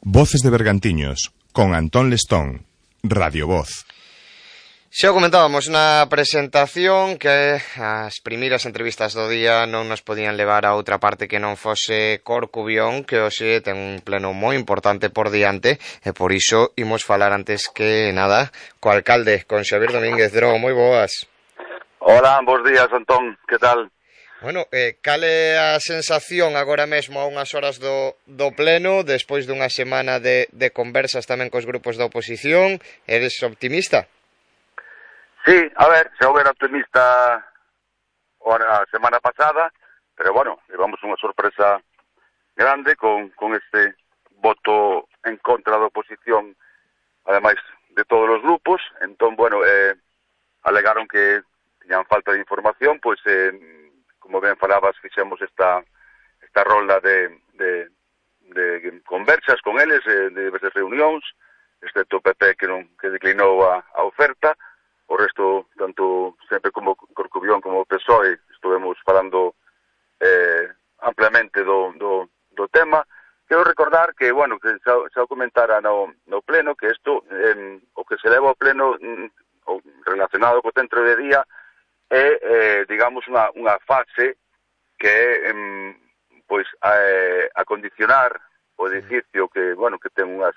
Voces de Bergantiños, con Antón Lestón, Radio Voz. Xa o comentábamos na presentación que as primeiras entrevistas do día non nos podían levar a outra parte que non fose Corcubión, que hoxe ten un pleno moi importante por diante, e por iso imos falar antes que nada co alcalde, con Xavier Domínguez. Dro, moi boas. Hola, bons días, Antón, que tal? Bueno, cal é a sensación agora mesmo a unhas horas do pleno, despois dunha semana de conversas tamén cos grupos da oposición? Eres optimista? Sí, a ver, xa houve optimista a semana pasada, pero bueno, levamos unha sorpresa grande con este voto en contra da oposición, ademais de todos os grupos. Entón, bueno, alegaron que tiñan falta de información, pois como ben falabas, fixemos esta rolda de conversas con eles, de diversas reunións, excepto o PP que declinou a oferta. O resto, tanto sempre como Corcubión como o PSOE, estuvemos falando ampliamente do tema. Quero recordar que, bueno, que xa o comentara no pleno, que isto, o que se leva ao pleno relacionado co centro de día, é, digamos, unha fase que é, pois, acondicionar o edificio que, bueno, que ten unhas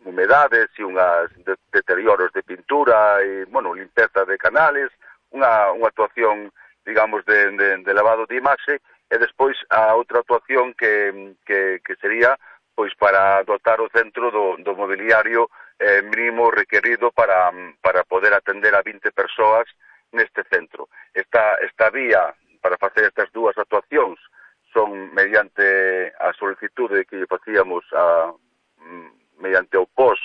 humedades e unhas deterioros de pintura e, bueno, limpeza de canales, unha actuación, digamos, de lavado de imaxe, e despois a outra actuación que sería, pois, para dotar o centro do mobiliario mínimo requerido para poder atender a 20 persoas neste centro. Esta vía para facer estas dúas actuacións son mediante a solicitude que facíamos mediante o POS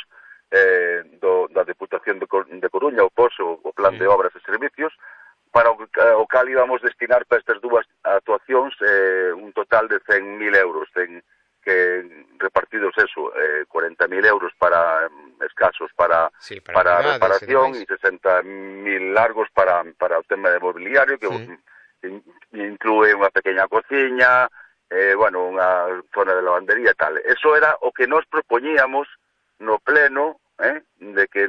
da Deputación de Coruña, o POS, o Plan de Obras e Servicios, para o cal íbamos destinar para estas dúas actuacións un total de 100.000 euros, que repartidos 40.000 euros para escasos para reparación e 60.000 largos para o tema de mobiliario, que inclúe unha pequena cociña, bueno, unha zona de lavandería e tal. Eso era o que nos propoñíamos no pleno, de que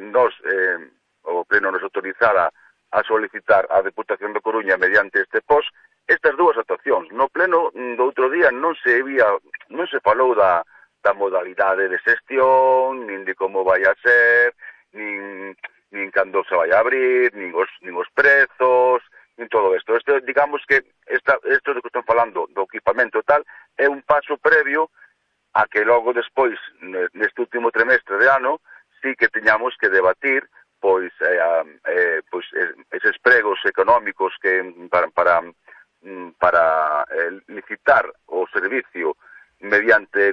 o pleno nos autorizara a solicitar a Deputación de Coruña mediante este POS estas dúas actuacións. No pleno do outro día non se falou da modalidade de xestión, nin de como vai a ser, nin cando se vai a abrir, nin os prezos, nin todo isto. Digamos que isto de que están falando do equipamento tal é un paso previo a que logo despois, neste último trimestre de ano, sí que teñamos que debatir pois eses pregos económicos que para licitar o servicio mediante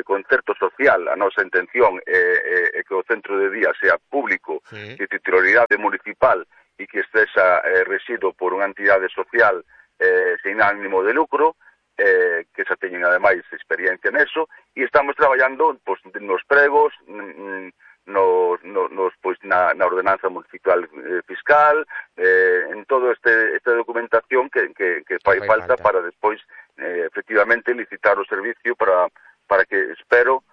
concerto social. A nosa intención é que o centro de día sea público, de titularidade municipal e que estexa rexido por unha entidade social sen ánimo de lucro, que xa teñen ademais experiencia neso, e estamos traballando pois, nos pregos, na ordenanza municipal fiscal, en toda esta documentación que fai falta para despois efectivamente licitar o servicio para que espero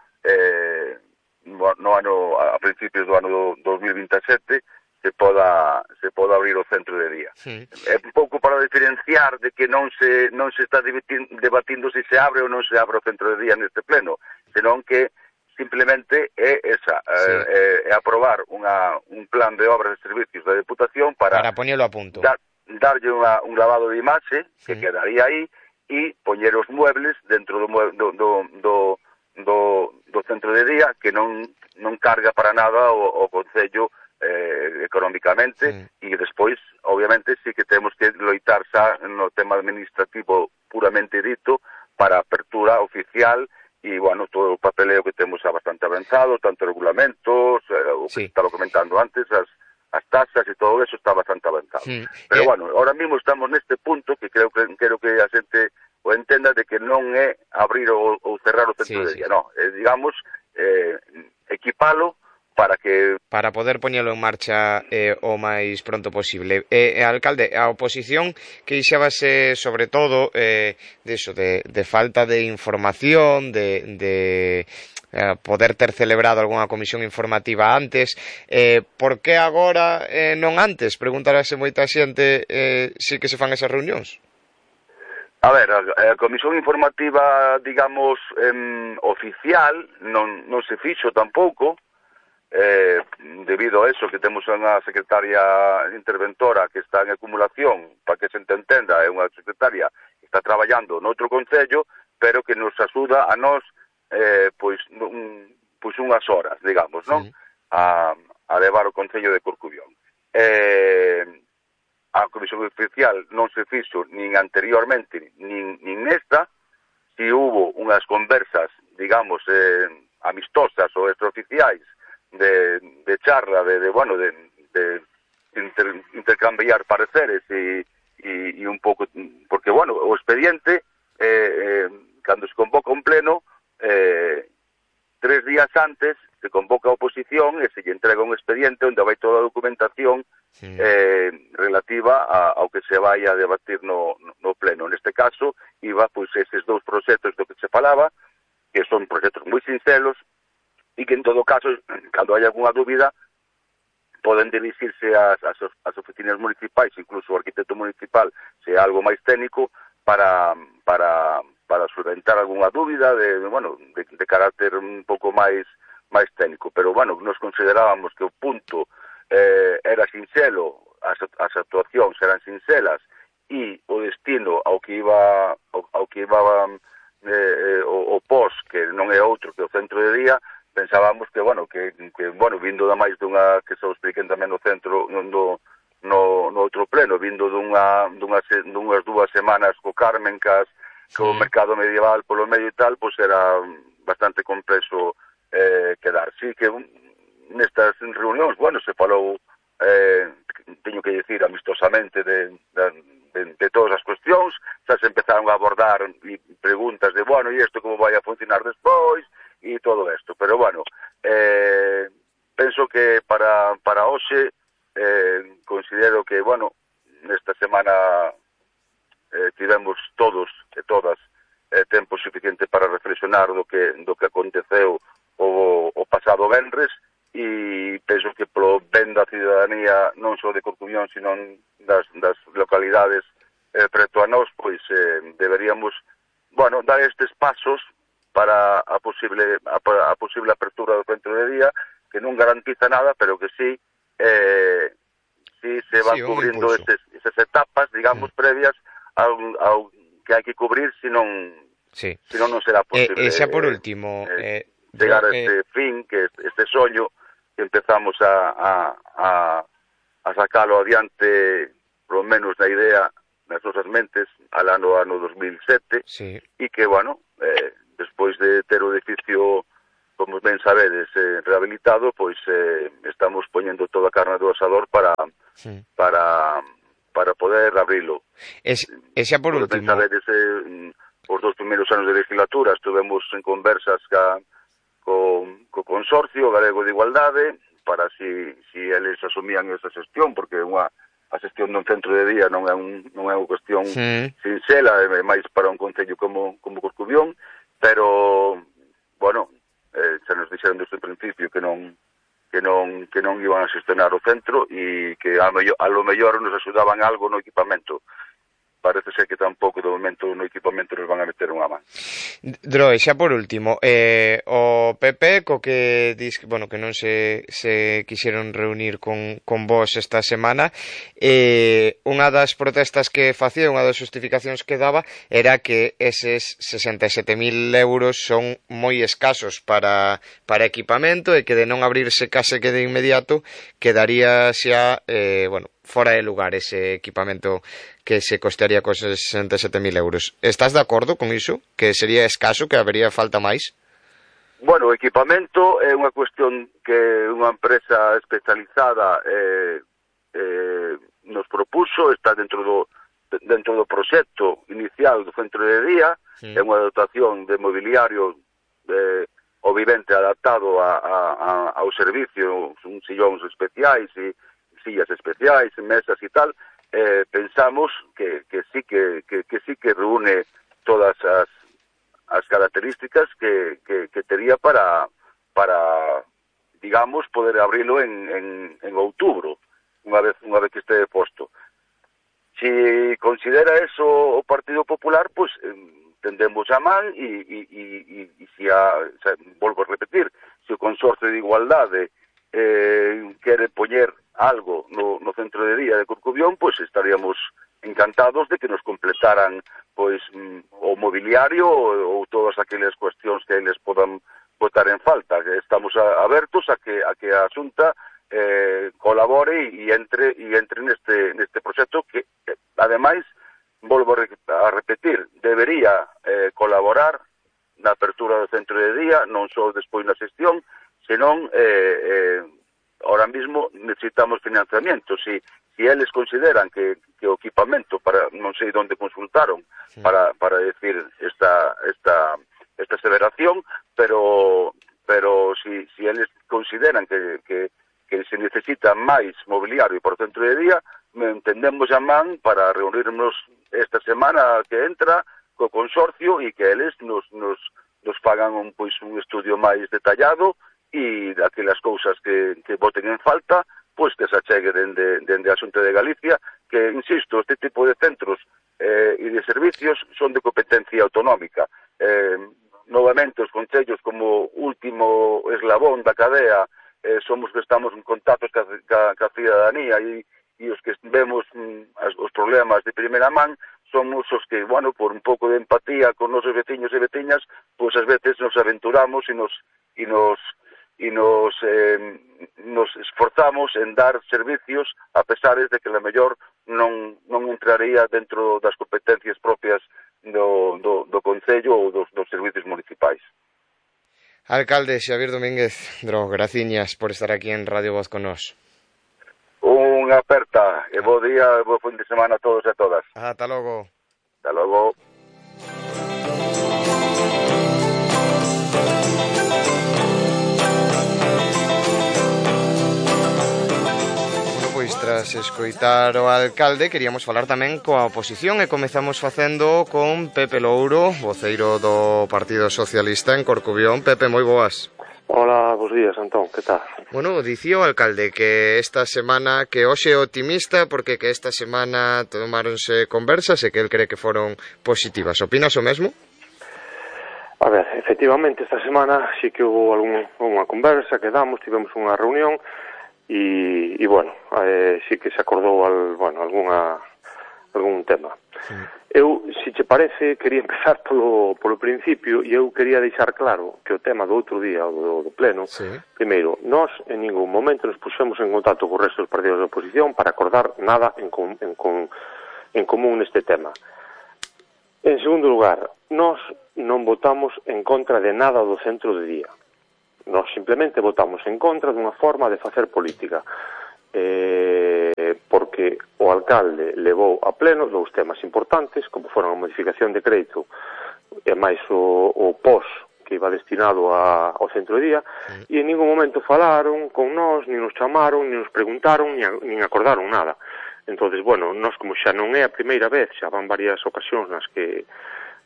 a principios do ano 2027 se poda abrir o centro de día. É un pouco para diferenciar de que non se está debatindo se abre ou non se abre o centro de día neste pleno, senón que simplemente é aprobar un plan de obras e servicios da Deputación para poñelo a punto, darlle un lavado de imaxe que quedaría aí e poñer os muebles dentro do centro de día, que non carga para nada o Concello económicamente, e despois, obviamente, sí que temos que loitar xa no tema administrativo puramente dito para a apertura oficial. E, bueno, todo o papeleo que temos xa bastante avanzado, tanto regulamentos, o que estaba comentando antes, as tasas e todo eso está bastante avanzado. Pero, bueno, ahora mismo estamos neste punto que quero que a xente o entenda de que non é abrir ou cerrar o centro de día, non. Digamos, equipalo para poder poñelo en marcha o máis pronto posible. Alcalde, a oposición queixábase sobre todo de falta de información, de poder ter celebrado algunha comisión informativa antes. Por que agora non antes? Preguntarase moita xente si que se fan esas reunións. A ver, a comisión informativa, digamos, oficial non se fixo tampouco, debido a eso que temos unha secretaria interventora que está en acumulación, para que se entenda, é unha secretaria que está traballando noutro concello, pero que nos axuda a nós pois unhas horas, digamos, non? Sí. A levar o concello de Corcubión. A comisión oficial non se fixo nin anteriormente nin nesta. Si hubo unhas conversas, digamos, amistosas ou extraoficiais de charla, de intercambiar pareceres e un pouco, porque, bueno, o expediente, cando se convoca un pleno, 3 días antes se convoca a oposición e se lle entrega un expediente onde vai toda a documentación relativa ao que se vai a debatir no pleno. Neste caso, iba, pois, eses 2 proxectos do que se falaba, que son proxectos moi sincelos, e que en todo caso, cando hai algunha dúbida, poden dirixirse ás oficinas municipais, incluso o arquitecto municipal, se é algo máis técnico, para solventar algunha dúbida de carácter un pouco máis técnico. Pero, bueno, nos considerábamos que o punto era sinxelo, as actuacións eran sinxelas, e o destino ao que iba o POS, que non é outro que o centro de día, pensábamos que vindo da máis dunha, que se o expliquen tamén no centro, no outro pleno, vindo dunhas 2 semanas co Cármencas, co mercado medieval polo medio e tal, pois era bastante complexo quedar. Sí que nestas reunións, se falou, teño que dicir, amistosamente de todas as cuestións, xa se empezaron a abordar preguntas de, e isto como vai a funcionar despois, e todo isto. Pero, penso que para hoxe considero que, nesta semana tivemos todos e todas tempo suficiente para reflexionar do que aconteceu o pasado venres, e penso que polo ben da ciudadanía, non só de Corcubión, sino das localidades preto a nós, pois deberíamos dar estes pasos para a posible apertura do centro de día, que non garantiza nada, pero que sí se van cubrindo esas etapas, digamos, previas ao que hai que cubrir, senón non será posible. Xa por último, chegar a este fin, que este soño que empezamos a sacalo adiante, polo menos na idea, nas nosas mentes, al ano 2007, e que, despois de ter o edificio, como ben sabedes, rehabilitado, pois estamos poñendo toda a carne do asador para poder abrilo. E xa por último, ben sabedes, os 2 primeiros anos de legislatura estuvemos en conversas co Consorcio Galego de Igualdade para si eles asumían esa xestión, porque a xestión dun centro de día non é unha cuestión sinxela, é máis para un concello como Corcubión, pero, xa nos dixeron desde o principio que non iban a xestionar o centro, e que a lo mellor nos axudaban algo no equipamento. Parece ser que tampouco do momento no equipamento nos van a meter unha man. Droe, xa por último, o PP, co que dis que non se quixeron reunir con vos esta semana, unha das protestas que facía, unha das justificacións que daba, era que eses 67.000 euros son moi escasos para equipamento, e que de non abrirse case que de inmediato quedaría xa, fora de lugar ese equipamento que se costearía cos 67.000 euros. Estás de acordo con iso? Que sería escaso, que habería falta máis? O equipamento é unha cuestión que unha empresa especializada nos propuso, está dentro do proxecto inicial do centro de día, é unha dotación de mobiliario o vivente adaptado ao servicio, un sillóns especiais e sillas especiais, mesas e tal, pensamos que sí que reúne todas as características que tería para digamos, poder abrilo en outubro, unha vez que este posto. Si considera eso o Partido Popular, pues tendemos a man e volvo a repetir, se o Consorcio de Igualdade quere poñer algo no centro de día de Corcubión, pues estaríamos encantados de que nos completaran pois o mobiliario ou todas aquelas cuestións que eles podan botar en falta. Estamos abertos a que a Xunta colabore e entre neste proxecto que, ademais, volvo a repetir, debería colaborar na apertura do centro de día, non só despois na xestión, senón ahora mismo necesitamos financiamento. Si eles consideran que o equipamento, non sei onde consultaron para decir esta aseveración, pero si eles consideran que se necesita máis mobiliario por centro de día, entendemos a man para reunirnos esta semana que entra co consorcio e que eles nos fagan un estudio máis detallado e daquelas cousas que boten en falta, pois que se achegue dende a Xunta de Galicia, que, insisto, este tipo de centros e de servicios son de competencia autonómica. Novamente, os concellos como último eslabón da cadea somos que estamos en contactos ca cidadanía e os que vemos os problemas de primeira man somos os que, bueno, por un pouco de empatía con nosos veciños e veciñas, pois ás veces nos aventuramos e nos esforzamos en dar servicios a pesares de que a mellor non entraría dentro das competencias propias do Concello ou dos servicios municipais. Alcalde Xavier Domínguez Dro, graciñas por estar aquí en Radio Voz con nós. Unha aperta e bo día e bo fin de semana a todos e a todas. Ata logo. Ata logo. Pois tras escoitar o alcalde queríamos falar tamén coa oposición e comezamos facendo con Pepe Louro, voceiro do Partido Socialista en Corcubión. Pepe, moi boas. Hola, bos días, Antón, que tal? Bueno, dicía o alcalde que esta semana, que hoxe é optimista porque que esta semana tomáronse conversas e que el cree que foron positivas. Opinas o mesmo? A ver, efectivamente, esta semana sí que hubo unha conversa, tivemos unha reunión e bueno, sí que se acordou algún tema. Sí. Eu, se che parece, quería empezar polo principio e eu quería deixar claro que o tema do outro día, do pleno, sí. Primeiro, nós en ningún momento nos puxemos en contacto co resto dos partidos de oposición para acordar nada en común neste tema. En segundo lugar, nós non votamos en contra de nada do centro de día. Nós simplemente votamos en contra dunha forma de facer política. Porque o alcalde levou a pleno dous temas importantes, como foron a modificación de crédito e máis o POS que iba destinado ao centro de día, e en ningún momento falaron con nós, nin nos chamaron, nin nos preguntaron, nin acordaron nada. Entonces, bueno, nós como xa non é a primeira vez, xa van varias ocasións nas que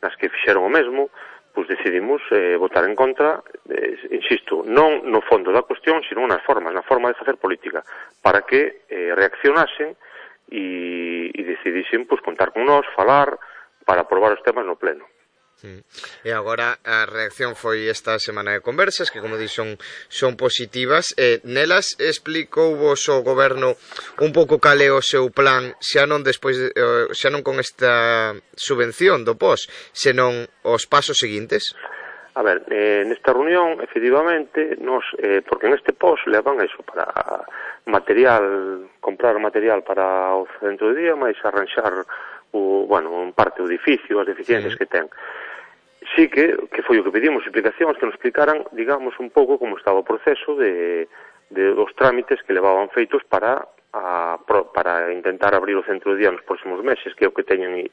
fixeron o mesmo, pois decidimos votar en contra, insisto, non no fondo da cuestión, sino nas formas, na forma de facer política, para que reaccionasen e decidisen pois contar con nós, falar, para aprobar os temas no pleno. E agora a reacción foi esta semana de conversas que, como di, son positivas. Nelas explicou vos o goberno un pouco cal é o seu plan, xa non con esta subvención do POS, senón os pasos seguintes? A ver, nesta reunión, efectivamente, porque neste POS levan eso para comprar material para o centro de día, máis arranxar en parte o edificio, as deficiencias que ten. Sí que foi o que pedimos explicacións, que nos explicaran, digamos, un pouco como estaba o proceso dos trámites que levaban feitos para intentar abrir o centro de día nos próximos meses, que é o que teñen